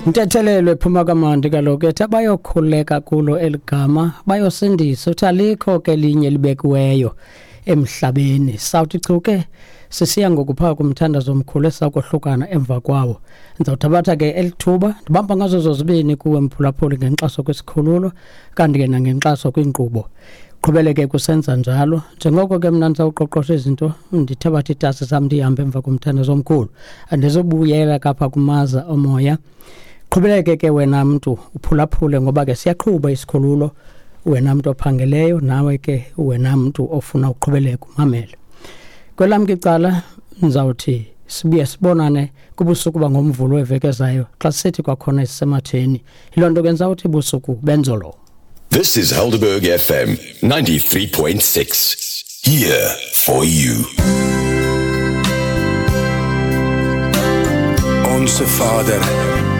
Ntethelelo ephuma kamandi kaloku ethi abayokhuleka kulo eligama bayosindisa, uthi alikho ke linye libekiweyo emhlabeni. Sawuthi chu ke sisiya ngokuphaa kumthandazo omkhulu esakohlukana emva kwawo. Ndizawuthabatha ke elithuba ndibamba ngazo zozibini kuwe mphulaphuli ngenkxaso kwisikhululo kanti ke nangenkxaso kwiinkqubo. Qhubeleke kusenza njalo. Njengoko ke mna ndisawuqoqosha izinto, ndithabatha iitasi zam ndihambe emva komthandazo omkhulu. Andizobuyela kapha kumaza omoya. Qhubeleke ke wena mntu uphulaphule ngoba ke siyaqhuba isikhululo, wena mntu ophangeleyo nawe ke wena mntu ofuna uqhubeleka umamele. Kwelam ke icala ndizawuthi sibuye sibonane kubusuku bangoMvulo weveki ezayo xa sithi kwakhona isisematheni. Yiloo nto ke ndizawuthi busuku benzolo. This is Helderberg FM 93.6. Here for you. Onse Vader